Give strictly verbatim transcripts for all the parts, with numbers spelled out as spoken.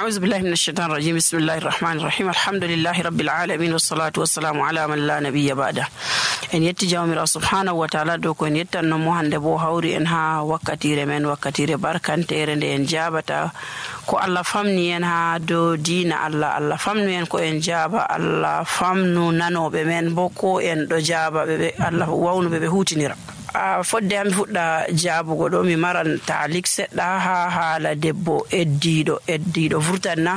أعوذ بالله من الشيطان الرجيم بسم الله الرحمن الرحيم الحمد لله رب العالمين والصلاة والسلام على من لا نبي بعده en yetti jawmirawo subhanahu wa ta'ala dow ko en yettanno mo hande bo hawri en ha wakkatire men wakkatire barkantere nde en jabata ko Allah famni en ha dow diina Allah Allah famnu en ko en jaba Allah famnu nanobe men bo ko en do jaba be Allah wawnu be be hutinira a fodde am fuɗɗa jaabugo ɗo mi maran taalik seɗɗa ha haala debbo eddiɗo eddiɗo vurtanna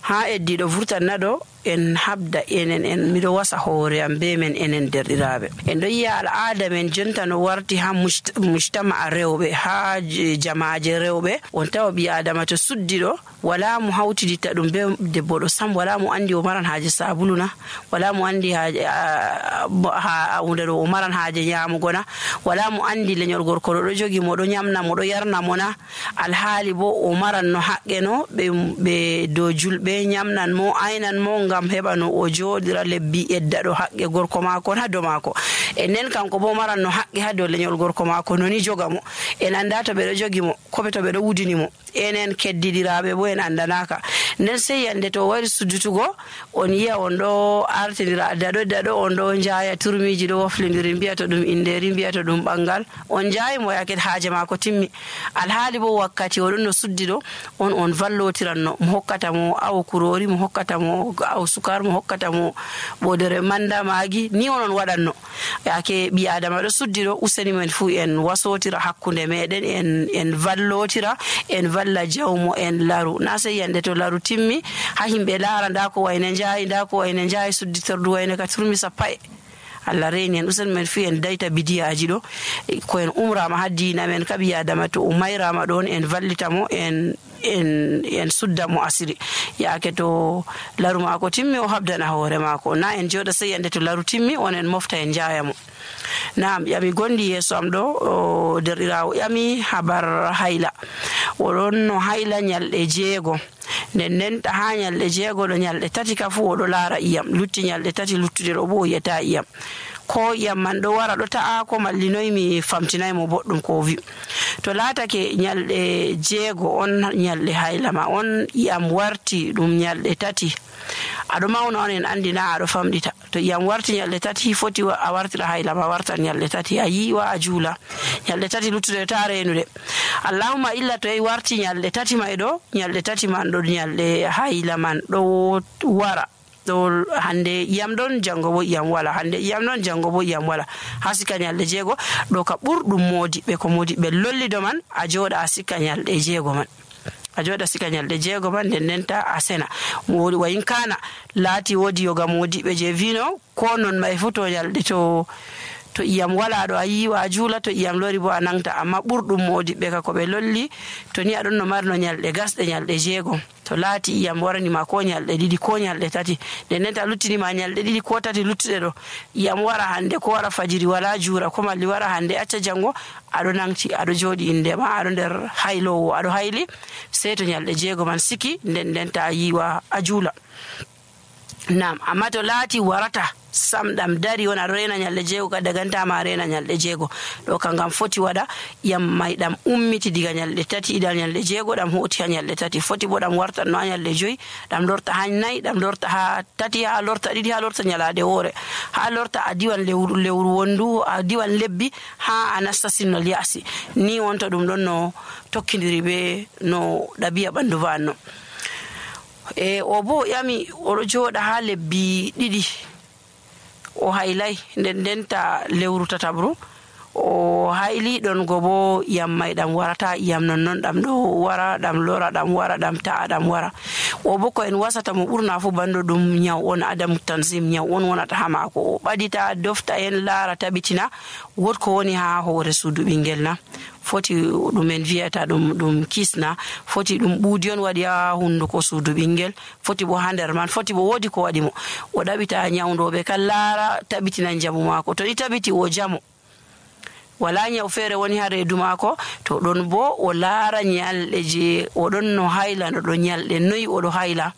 ha eddiɗo vurtanna ɗo en habda enen en miɗo wasa hoore am be men enen derɗiraɓe en ɗo yiya al'ada men jonta no warti ha mujtama a rewɓe ha jamaje rewɓe on tawa ɓi adama to suddi ɗo wala mo hawtiditta ɗum be debbo ɗo sam wala mo andi o maran haaje sabulu na wala mo andi ha hunde ɗo o maran haaje nyamugo na wala mo andi leñol gorko ɗo ɗo jogi mo ɗo nyamna mo ɗo yarna mo na alhaali bo o maran no haqqe no ɓe dow julɓe nyamnan mo aynan mo ngam heɓa no o joɗira lebbi edda ɗo haqqe gorko maako ha dow maako e nden kanko bo maran no haqqe ha dow leñol gorko maako noni joga mo en anda to ɓe ɗo jogi mo koɓe to ɓe ɗo wudini mo enen keddidiraɓe bo en andanaka nden sey yande to wari suddutugo on yiya on ɗo artidira daɗo daɗo on ɗo jaya turmiji ɗo woflidiri mbiyata ɗum inderi mbiyata ɗum ɓangal on jayi mo yaket haaje maako timmi alhaali bo wakkati oɗon no suddi ɗo on on vallotiranno mo hokkata mo awo kurori mo hokkata mo awo sukar mo hokkata mo ɓodere manda maagi ni onon waɗanno yake ɓi adama ɗo suddi ɗo useni men fuu en wasotira hakkunde meɗen en en vallotira en valla jawmo en laru na sey yande to laru timmi ha himɓe laara nda ko wayne jaayi nda ko wayne jaayi sudditordu wayne ka turmi sappa e Allah reni en usen men fi en dayta bidiyaji ɗo ko en umrama ha diina men ka ɓi adama to o mayrama ɗon en vallitamo en en en sudda mo asiri yaake to laru mako timmi o habdana hoore mako na en joɗa sey yande to laru timmi on en mofta en jayamo naam yami gondi yeso am ɗo derɗirawo yami habar hayla oɗon no hayla nyalɗe jeego nden nden ta ha nyalɗe jeego ɗo nyalɗe tati ka fu oɗo laara iyam lutti nyalɗe tati luttude ɗo bo o yiyata iyam ko iyam man ɗo wara ɗo ta'a ko mallinoy mi famtinay mo boɗɗum ko wi to laatake nyalɗe jeego on nyalɗe haylama on iyam warti ɗum nyalɗe tati aɗo mawna on en andina aɗo famɗita to iyam warti nyalɗe tati foti a wartira haylama wartan nyalɗe tati a yiwa a juula nyalɗe tati luttude ta renude allahumma illa to yi warti nyalɗe tati may ɗo nyalɗe tati man ɗo nyalɗe hayla man ɗo wara ɗo hande iyam ɗon jango bo iyam wala hande iyam ɗon jango bo iyam wala ha sika nyalɗe jeego ɗo ka ɓurɗum modiɓe ko modiɓe lollido man a jooɗa a sika nyalɗe jeego man a jooɗa sika nyalɗe jeego man nden ndenta a sena modi wayin kana laati wodi yoga modiɓe je vino ko non may fu to nyalɗe to to iyam wala ɗo a yiwa a juula to iyam lori bo a nangta amma ɓurɗum modiɓe ka ko ɓe lolli to ni aɗon no marno nyalɗe gasɗe nyalɗe jeego to laati iyam waranima ko nyalɗe ɗiɗi ko nyalɗe tati nden nden ta luttinima nyalɗe ɗiɗi ko tati luttuɗe ɗo iyam wara hande ko wara fajiri wala juura ko malli wara hande acca jango aɗo nangti aɗo jooɗi indema aɗo nder haylowo aɗo hayli sey to nyalɗe jeego man siki nden nden ta yiwa a juula nam amma to laati warata sam ɗam dari wona aɗo rena nyalɗe jeego ka dagantama rena nyalɗe jeego ɗo ka ngam foti waɗa yam may ɗam ummiti diga nyalɗe tati idan nyalɗe jeego ɗam hoti ha nyalɗe tati foti bo ɗam wartanno ha nyalɗe joyi ɗam lorta ha nayyi ɗam lorta ha tati ha lorta ɗiɗi ha lorta nyalade woore ha lorta a diwan lewru lewru wondu a diwan lebbi ha a nasta sinnol yasi ni wonta ɗum ɗon no tokkidiri be no ɗabi'a ɓandu vanno e o bo yami oɗo jooɗa ha lebbi ɗiɗi o haylay nden ndenta lewru tatabru o hayli ɗon go bo iyam may ɗam warata iyam non non ɗam ɗo wara ɗam lora ɗam wara ɗam ta'a ɗam wara o bo ko en wasata mo ɓurna fu bando ɗum nyaw on adamu tansim nyaw on wonata ha maako o ɓadita dofta en laara tabitina wotko woni ha hoore suudu ɓingel na foti ɗumen wiyata ɗum ɗum kisna foti ɗum ɓuudi on waɗi ha hunduko suudu ɓingel foti bo ha nder man foti bo woodi ko waɗi mo o ɗaɓita nyawdoɓe kan laara tabitina njamu maako to ni tabiti o jamo wala nyaw feere woni ha reedu maako to ɗon bo o laara nyalɗe je oɗon no hayla no ɗo nyalɗe noyi oɗo hayla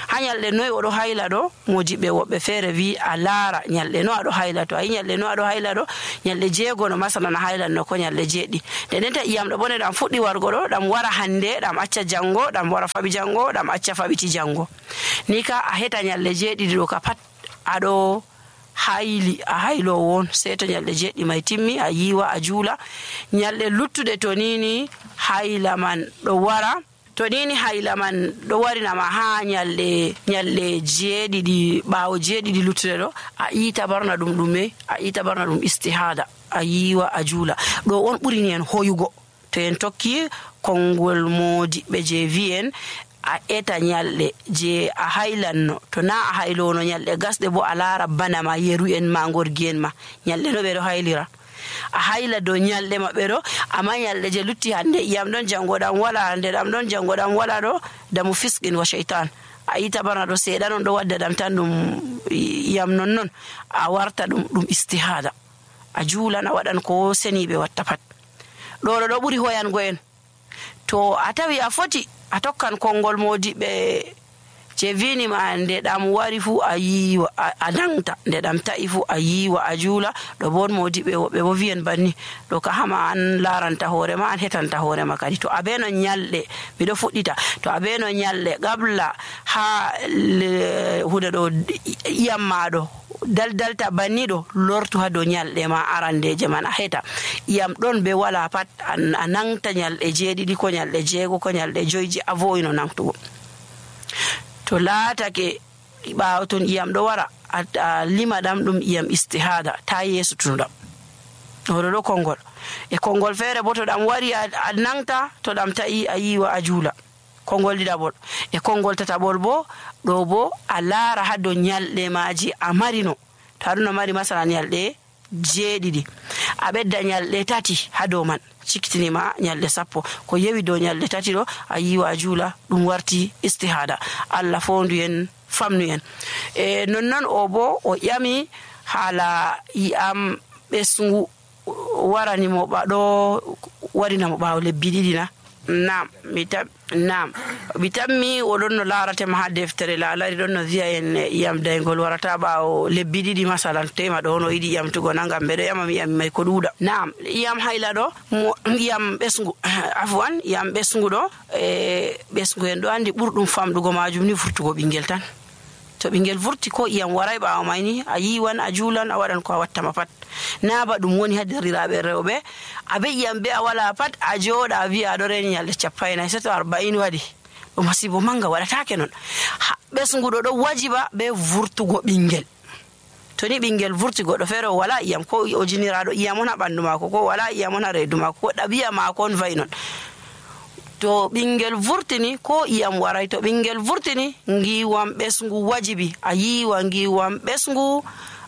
ha nyalɗe noy oɗo hayla ɗo modiɓɓe woɓɓe feere wi a laara nyalɗe no aɗo hayla to a yi nyalɗe no aɗo hayla ɗo nyalɗe jeego no masalan a haylanno ko nyalɗe jeeɗɗi nden nden ta iyam ɗo bone ɗam fuɗɗi wargo ɗo ɗam wara hande ɗam acca jango ɗam wara faɓi jango ɗam acca faɓiti jango ni ka a heta nyalɗe jeeɗiɗi ɗo ka pat aɗo hayli a haylowo won sei to nyalɗe jeeɗɗi mai timmi a yiwa a juula nyalɗe luttuɗe to nini hayla man ɗo wara to nini hayla man ɗo warinama ha nyalɗe nyalɗe jeeɗiɗi ɓaawo jeeɗiɗi luttuɗe ɗo a iita barna ɗum ɗume a iita barna ɗum istihada a yiwa a juula ɗo on ɓurini en hoyugo to en tokki konngol modiɓɓe je wi'en a eta nyalɗe je a haylanno to na a haylono nyalɗe gasɗe bo a laara bana ma yeru en ma gorgi en ma nyalɗe no ɓe ɗo haylira a hayla dow nyalɗe maɓɓe ɗo amma nyalɗe je lutti hande iyam ɗon jango ɗam wala hande ɗam ɗon jango ɗam wala ɗo damu fisqin wa shaytan a yita barna ɗo seeɗa non ɗo wadda ɗam tan ɗum iyam non non a warta ɗum ɗum istihada a juulan a waɗan ko seniɓe watta pat ɗo ɗo ɗo ɓuri hoyango en to a tawi a foti a tokkan konngol modiɓɓe je winima nde ɗam wari fu a yiwa a nangta nde ɗam ta'i fu a yiwa a juula ɗo bon modiɓɓe woɓɓe bo wiyen banni ɗo ka hama an laranta hoorema an hetanta hoorema kadi to abe no nyalɗe miɗo fuɗɗita to abe no nyalɗe qabla ha hunde ɗo iyam maɗo daldalta banni ɗo lortu ha dow nyalɗe ma arandeje man a heta iyam ɗon be wala pat a nangta nyalɗe jeeɗiɗi ko nyalɗe jeego ko nyalɗe joyji a voyino nangtugo to laatake ɓaawo ton iyam ɗo wara a lima ɗam ɗum iyam istihada ta yeeso tunuɗam oɗo ɗo konngol e konngol feere bo to ɗam wari a nangta to ɗam ta'i a yiwa a juula konngol ɗiɗaɓol e konngol tataɓol bo ɗo bo a laara ha dow nyalɗe maji a marino to aɗum no mari masalan nyalɗe jeeɗiɗi a ɓedda nyalɗe tati ha dow man ciktinima nyalɗe sappo ko yewi dow nyalɗe tati ɗo a yiwa a juula ɗum warti istihada Allah fondu en famnu en e nonnon o bo o ƴami haala yiyam ɓesngu waranimo ɓaɗo warinamo ɓaawo lebbi ɗiɗi na nam mi tab nam mi tammi oɗon no laaratema ha deftere laalari ɗon no wiya en iyam daygol warata ɓaawo lebbi ɗiɗi masalan tema ɗo no yiɗi iyamtugo na ngam ɓeɗo ƴama mi iyam may ko ɗuuɗa nam iyam hayla ɗo iyam ɓesngu afwan iyam ɓesngu ɗo e ɓesngu en ɗo andi ɓurɗum famɗugo majum ni vurtugo ɓinguel tan to ɓinguel vurti ko iyam waray ɓaawo may ni a yiwan a juulan a waɗan ko a wattama pat na ba ɗum woni ha derriraɓe rewɓe abe iyam be a wala pat a jooɗa a wi'a aɗo reni nyalɗe cappaynayi seto arba'in waɗi ɗum masibo manga waɗatake non ɓesnguɗo ɗo wajiba be vurtugo ɓinguel to ni ɓinguel vurti goɗɗo feere o wala iyam ko o jiniraɗo iyam on ha ɓandu mako ko wala iyam on ha reedu mako ko ɗabi'a mako on vayi non to ɓinguel vurtini ko iyam waray to ɓinguel vurtini ngiwam ɓesngu wajibi a yiwa ngiwam ɓesngu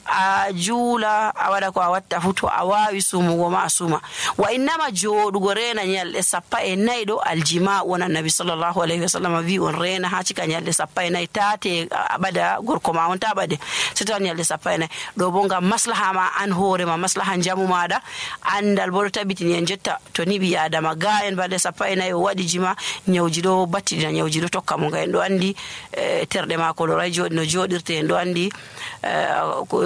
a juula a waɗa ko a watta fu to a wawi sumugo ma a suma wa innama jooɗugo reena nyalɗe sappa e nayyi ɗo aljima won annabi sallllahu alayhi wa sallam wi on reena ha cika nyalɗe sappa e nayyi tate a ɓada gorko ma on ta ɓade so tawa nyalɗe sappa e nayyi ɗo bo ngam maslaha ma an hoorema maslaha jamu maɗa andal bo ɗo tabitini en jotta to ni ɓi adama ga en balɗe sappa e nayyi o waɗi jima nyawji ɗo battidina nyawji ɗo tokka mo nga en ɗo andi terɗe mako ɗo ray joɗi no joɗirte en ɗo andi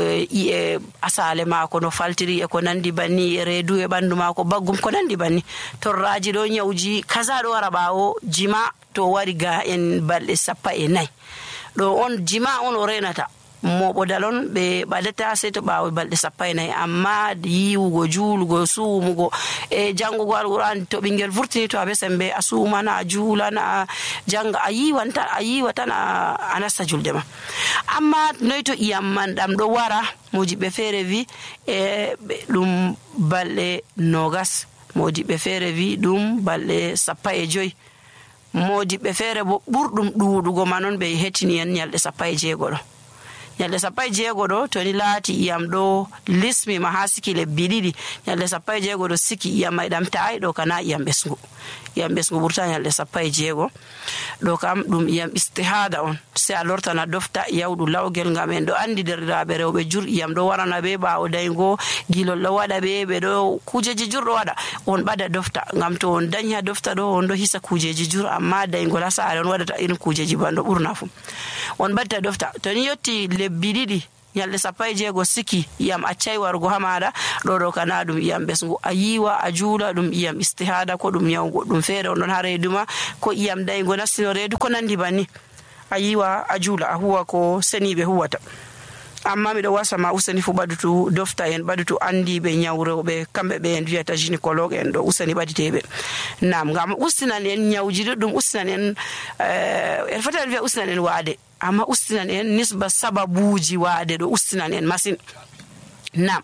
e asale mako no faltiri e ko nandi banni e reedu e ɓandu mako baggum ko nandi banni torraji ɗo nyawji kaza ɗo wara ɓaawo jima to wari ga en balɗe sappa e nayyi ɗo on jima on o renata moɓodal on ɓe ɓadata sey to ɓaawo balɗe sappa e nayyi amma yiwugo juulugo suumugo e jangugo alquran to ɓinguel vurtini to aɓe sembe a suumana a juulana a janga a yiwan tan a yiwa tan a nasta julde ma amma noy to iyam man ɗam ɗo wara mojiɓɓe feere wi e ɗum balɗe nogas mojiɓɓe feere wi ɗum balɗe sappa e joyi modiɓɓe feere bo ɓurɗum ɗuuɗugo ma noon ɓe hetini en nyalɗe sappa e jeego ɗo nyalde sappo e jeego ɗo to ni laati iyam ɗo lismi ma ha siki lebbi ɗiɗi nyalde sappo e jeego ɗo siki iyam may ɗam ta'ai ɗo kana iyam ɓesgu iyam ɓesgu ɓurta nyalde sappo e jeego ɗo kam ɗum iyam istihada on se a lortana dofta yawɗu lawgel ngam en ɗo andi derɗiraɓe rewɓe jur iyam ɗo warana ɓe ɓawo daygo gilol ɗo waɗa ɓe ɓe ɗo kujeji jur ɗo waɗa on ɓada dofta ngam to on dañi ha dofta ɗo on ɗo hisa kujeji jur amma daygol ha saare on waɗata irin kujeji banɗo ɓurna fu on ɓatta dofta to ni yetti lebbi ɗiɗi nyalde sappo e jeego siki iyam accai warugo ha maɗa ɗo ɗo kana ɗum iyam ɓesgu a yiwa a juula ɗum iyam istihada ko ɗum nyawu goɗɗum feere on ɗon ha reedu ma ko iyam daygo nastino reedu ko nandi banni a yiwa a juula a huwa ko seniɓe huwata amma miɗo wasama useni fu ɓadutu dofta en ɓadutu andiɓe nyawu rewɓe kamɓe ɓe en wiyata gynécologue en ɗo useni ɓaditeɓe nam ngam ustinan en nyawji ɗuɗɗum ustinan en en foti en wiya ustinan en waade amma ustinan en nisba sababuji waade ɗo ustinan en masine nam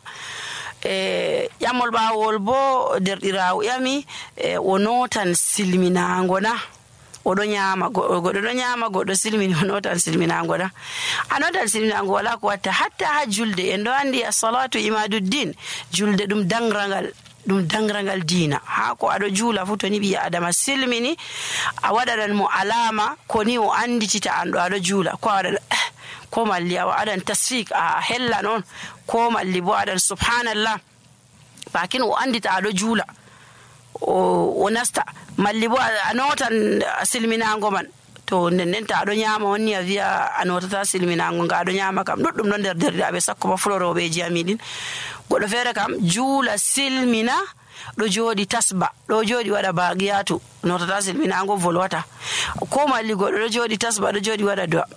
e ƴamol ɓawol bo derɗirawo ƴami e o notan silminago na oɗo ñaama goɗɗo ɗo ñaama goɗɗo silmini o notan silminago na a notan silminago wala ko watta hatta ha julde en ɗo andi as-salatu imaduddin julde ɗum dangrangal ɗum dangrangal diina ha ko aɗo juula fu to ni ɓi adama silmini a waɗanan mo alama ko ni o anditita an ɗo aɗo juula ko a waɗa ko malli a waɗan tasfik a hellan on ko malli bo aɗan subhanallah bakin o andita aɗo juula o nasta malli bo a notan silminago man to nden ta aɗo ñaama wonni a wiya a notata silminago nga aɗo ñaama kam ɗuɗɗum ɗon nder derɗiraɓe sakko ba fulo rewɓeji amiɗin goɗɗo feere kam juula silmina ɗo jooɗi tasba ɗo jooɗi waɗa bagiyatu notata silminago volwata ko malli goɗɗo ɗo jooɗi tasba ɗo jooɗi waɗa do'a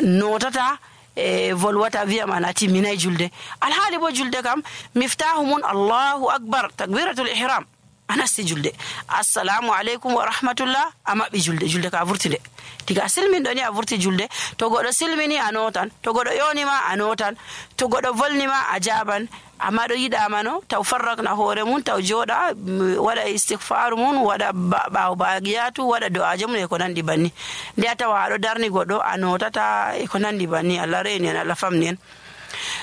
notata e volwata wiyama na timminay julde alhaali bo julde kam miftahu mun allahu akbar takbiratul ihram a nasti julde assalamu aleykum wa rahmatullah a maɓɓi julde julde ka vurtide tiga a silminɗo ni a vurti julde to goɗɗo silmini a notan to goɗɗo yonima a notan to goɗɗo volnima a jaban amma ɗo yiɗamano taw farrakna hoore mum taw jooɗa waɗa istighfaru mum waɗa ɓawo bagiyatu waɗa do'aje mum e ko nandi banni nde a tawa aɗo darni goɗɗo a notata e ko nandi banni Allah reeni en Allah famni en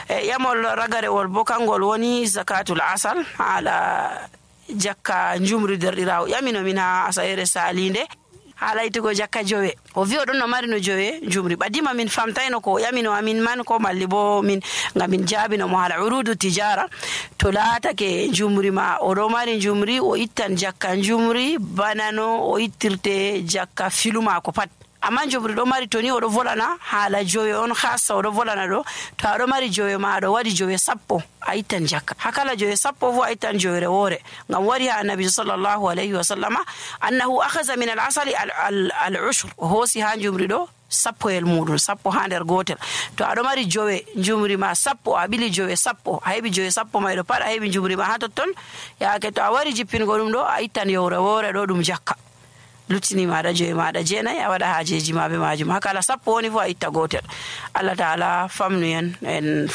e ƴamol ragarewol bo kangol woni zakatul asal haala jakka njumri derɗirawo ƴaminomin ha asayere salinde haala yitugo jakka jowe o wi oɗon no mari no jowe njumri ɓadima min famtayno ko ƴamino amin man ko malli bo min ngam min jaabino mo haala urudu tijara to laatake njumri ma oɗo mari njumri o ittan jakka njumri bana no o ittirte jakka filuma ko pat amma njumri ɗo mari to ni oɗo volana haala jowe on hassa oɗo volana ɗo to aɗo mari jowe ma aɗo waɗi jowe sappo a ittan jakka ha kala jowe sappo fo a ittan jowere woore ngam wari ha annabi sallllahu alayhi wa sallama annahu akhasa min al asali al ushre o hoosi ha njumri ɗo sappoyel muɗum sappo ha nder gotel to aɗo mari jowe njumri ma sappo a ɓili jowe sappo a heɓi jowe sappo mayɗo pat a heɓi njumri ma ha totton yaake to a wari jippingo ɗum ɗo a ittan yowre woore ɗo ɗum jakka luttini maɗa joyi maɗa jeenayi a waɗa haajeji ma be majum ha kala sappo woni fo a itta gotel Allah taala famnu en en